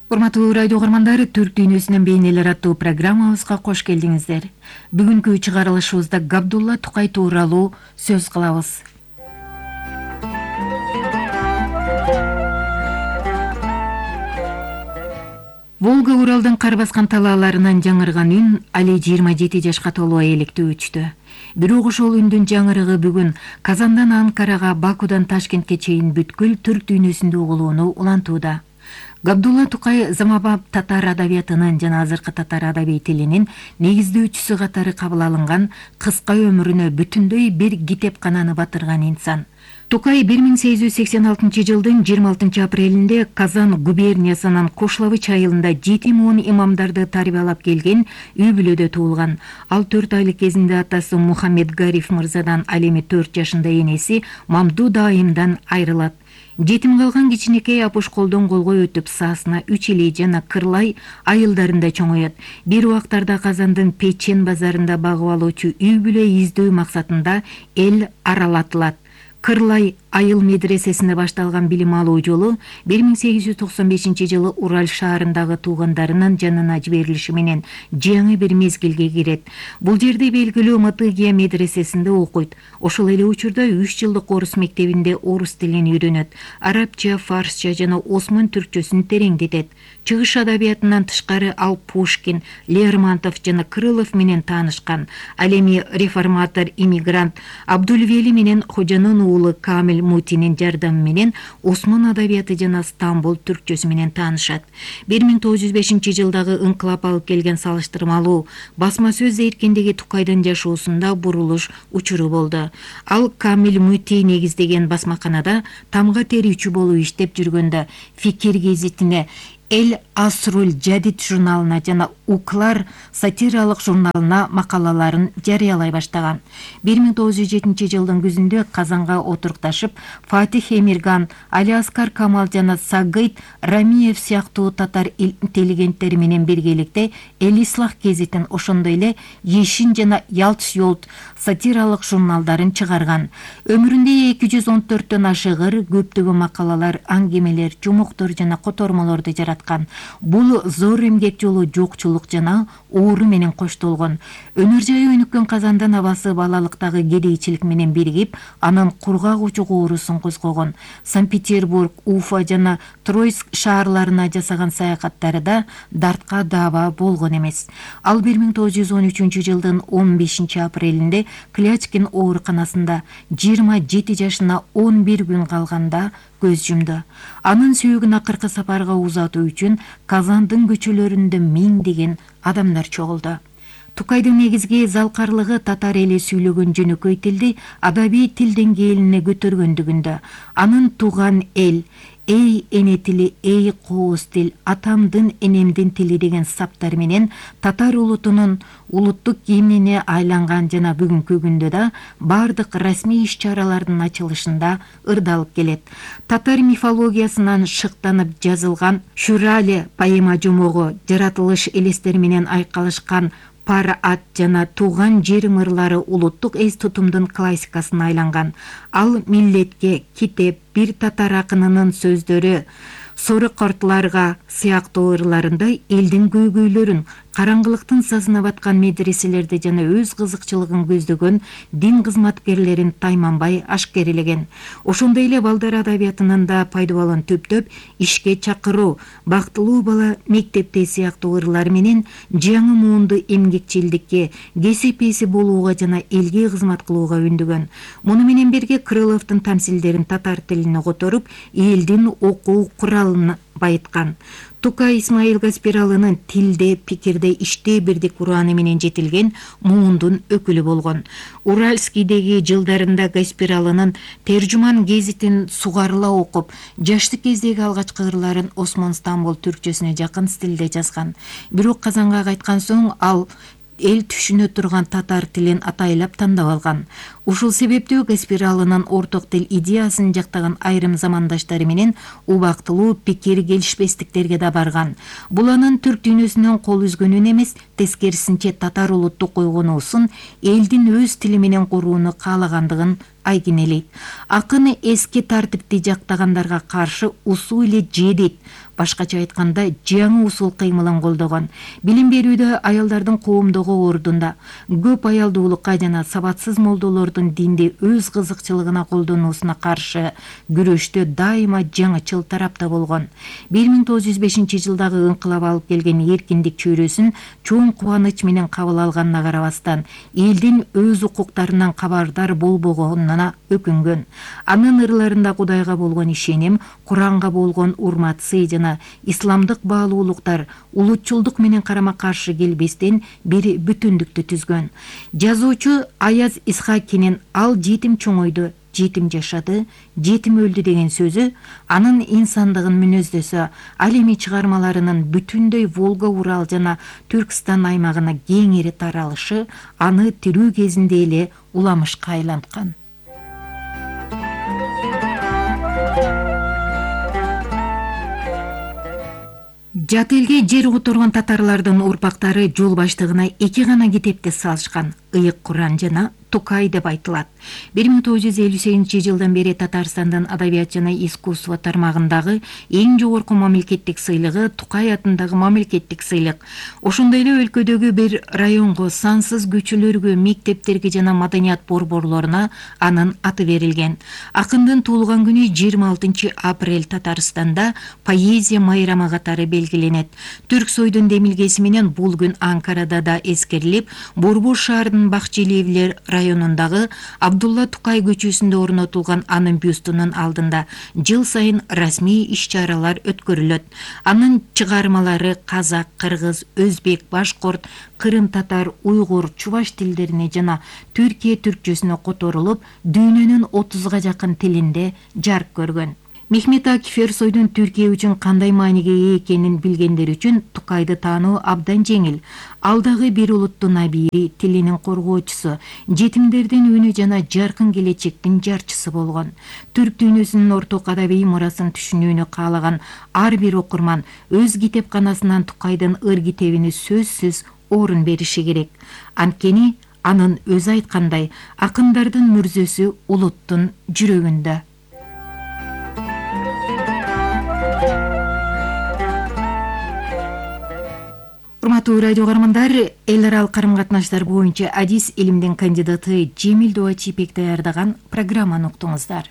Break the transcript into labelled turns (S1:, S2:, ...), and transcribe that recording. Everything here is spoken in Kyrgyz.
S1: Урматтуу радио угармандары, Түрк дүйнөсүнүн бейнелер аттуу программабызга кош келдиңиздер. Бүгүнкү чыгарылышыбызда Габдулла Тукай тууралуу сөз кылабыз. Волга Уралдын кар баскан талааларынан жаңырган үн али 27 жашка толуу электе өчтү. Бирок ошол үндүн жаңырыгы бүгүн Казандан Анкарага, Бакудан Ташкентке чейин бүткүл түрк дүйнөсүндө угулууну улантууда. Габдулла Тукай заманбап татар адабиятынын жана азыркы татар адабий тилинин негиздөөчүсү катары кабыл алынган, кыска өмүрүнө бүтүндөй бир китепкананы батырган инсан. Тукай 1886 жылдын 26 апрелинде Казан губерниясынын Кошловыч айылында жетим он имамдарды тарбиялап келген үй бүлөдө туулган. Ал 4 айлык кезинде атасы Мухаммед Гариф мырзадан, ал эми 4 жашында энеси Мамдуд айымдан айрылат. Жетим калган кичинекей апуш колдон колго өтүп Саасына, Үчилей жана Кырлай айылдарында чоңоет. Бир убактарда Казандын Печен базарында багып алуучу үй бүлө издөө максатында эл аралатылат. Кырлай айыл медресесинде башталган билим алуу жолу 1895 жылы Урал шаарындагы туугандарынын жанына жиберилиши менен жаңы бир мезгилге кирет. Бул жерде белгилүү Матыгия медресесинде окуйт. Ошол эле учурда 3 жылдык орус мектебинде орус тилин үйрөнөт. Арабча, фарсча жана осмон түркчөсүн тереңдетет. Чыгыш адабиятынан тышкары ал Пушкин, Лермонтов жана Крылов менен таанышкан. Ал эми реформатор иммигрант Абдулвели менен Хожанын уулу Камил Мутинин жардамы менен осмон адабияты жана Стамбул түркчөсү менен таанышат. 1905 жылдагы ыңкылап алып келген салыштырмалуу басма сөз эркиндиги Тукайдын жашоосунда бурулуш учуру болду. Ал Камил Мути негиздеген басмаканада тамга терүүчү болуп иштеп жүргөндө Фикир гезитине, Эл Асруль Жадид журналына жана Уклар сатиралык журналына макалаларын жарыялай баштаган. 1907 жылдын күзүндө Казанга отурукташып, Фатих Эмирган, Али Аскар Камал жана Сагыйт Рамиев сыяктуу татар интеллигенттери менен биргеликте Эл Ислах гезитин, ошондой эле Ешин жана Ялч Йолт сатиралык журналдарын чыгарган. Өмүрүндө 214төн ашыгыр көптөгөн макалалар, аңгемелер, жумуктор жана котормолорду жараткан. Бул зор эмгек жолу жокчулук жана оору менен коштолгон. Өнөр жайы өнүккөн Казандын абасы балалыктагы кедейчилик менен биригип, анын кургак учук оорусун козгогон. Санкт-Петербург, Уфа жана Тройск шаарларына жасаган саякаттары да дартка даба болгон эмес. Ал 1913 жылдын 15 апрелинде Клячкин ооруканасында 27 жашына 11 күн калганда көз жумду. Анын сүйөгүн акыркы сапарга узатуу үчүн Казандын көчөлөрүндө миңдеген адамдар чогулду. Тукайдын негизги залкарлыгы татар эли сүйлөгөн жөнөкөй тилди адабий тил деңгээлине көтөргөндүгүндө. Анын тууган эл, эй эне тили, эй кооз тил, атамдын энемдин тили деген саптар менен татар улутунун улуттук гимнине айланган жана бүгүнкү күндө да бардык расмий иш-чаралардын ачылышында ырдалып келет. Татар мифологиясынан шыктанып жазылган Шурале поэма жумогу, жаратылыш элестери менен айкалышкан Пар ат жана Тууган жерим ырлары улуттук эс тутумдун классикасына айланган. Ал миллетке, китеп, бир татар акынынын сөздөрү, Сору кортларга сыяктуу ырларында элдин көйгөйлөрүн, караңгылыктын сазына баткан медреселерди жана өз кызыкчылыгын көздөгөн дин кызматкерлерин тайманбай ашкерелеген. Ошондой эле балдар адабиятынын да пайдабалын төптөп ишке чакыруу, бактылуу бала мектепте сыяктуу ырлар менен жаңы муунду эмгекчилдикке, кесип ээси болууга жана элге кызмат кылууга үндөгөн. Муну менен бирге Крыловдун тамсилдерин татар тилине которуп, элдин окуу куралын байыткан. Тукай Исмаил Гаспиралынын тилде, пикирде, иште бирдик ураны менен жетилген муундун өкүлү болгон. Уральскийдеги жылдарында Гаспиралынын Тержуман гезитин сугарыла окуп, жаштык кездеги алгачкы ырларын Осмон Стамбул түркчөсүнө жакын стилде жазган. Бирок Казанга кайткан соң ал эл түшүнө турган татар тилин атайлап тандап алган. Ушул себептүү Каспиралынын орток тил идеясын жактаган айрым замандаштары менен убактылуу пикир келишпестиктерге да барган. Бул анын түрк дүйнөсүнөн кол үзгөнүн эмес, тескерисинче татар улуттук койгонуусун элдин өз тили менен курууну каалагандыгын айгинелейт. Акын эски тартипти жактагандарга каршы усул эле жедит, башкача айтканда жаңы усул кыймылын колдогон. Билим берүүдө аялдардын коомдогу ордунда, көп аялдуулукка жана сабатсыз молдолордун динди өз кызыкчылыгына колдонуусуна каршы күрөштө дайыма жаңычыл тарапта болгон. 1905 жылдагы ыңкылап алып келген эркиндик чөйрөсүн чоң кубаныч менен кабыл алганына карабастан, элдин өз укуктарынан кабардар болбогонуна өкүнгөн. Анын ырларында Кудайга болгон ишеним, Куранга болгон урмат, сый жана исламдык баалуулуктар улутчулдук менен карама-каршы келбестен бир бүтүндүктү түзгөн. Жазуучу Аяз Исхакинин «Ал жетим чоңойду, жетим жашады, жетим өлдү» деген сөзү анын инсандыгын мүнөздөсө, ал эми чыгармаларынын бүтүндөй Волга Урал жана Түркстан аймагына кеңири таралышы аны тирүү кезинде эле уламышка айланткан. Жат элге жер которгон татарлардын урпактары жол баштыгына 2 гана китепти салышкан: Ыйык Куран жана Тукай деп айтылат. 1958 жылдан бери Татарстандын адабият жана искусство тармагындагы эң жогорку мамлекеттик сыйлыгы Тукай атындагы мамлекеттик сыйлык. Ошондой эле өлкөдөгү бир районго, сансыз көчөлөргө, мектептерге жана маданият борборлоруна анын аты берилген. Акындын туулган күнү 26 апрель Татарстанда поэзия майрамы катары белгиленет. Түрк сойдун демилгеси менен бул күн Анкарада да эскерилип, Борбор шаарынын Бакчелиевлер районундагы Абдулла Тукай көчөсүндө орнотулган анын бюстунун алдында жыл сайын расмий иш-чаралар өткөрүлөт. Анын чыгармалары казак, кыргыз, өзбек, башкорт, кырым татар, уйгур, чуваш тилдерине жана Түркия түркчөсүнө которулуп, дүйнөнүн 30га жакын тилинде жарык көргөн. Мехмет Акиф Эрсойдун Түркия үчүн кандай мааниге ээ экенин билгендер үчүн Тукайды таануу абдан жеңил. Алдагы бир улуттун абийри, тилинин коргоочусу, жетимдердин үнү жана жаркын келечектин жарчысы болгон. Түрк дүйнөсүнүн орток адабий мурасын түшүнүүнү каалаган ар бир окурман өз китепканасынан Тукайдын ыр китебине сөзсүз орун бериши керек. Анткени анын өзү айткандай, акындардын мүрзөсү улуттун жүрөгүндө. Урматтуу радио каармандар, эл аралык карым-катнаштар боюнча адис илимдин кандидаты Жемил Дуачипек даярдаган программаны уктуңуздар.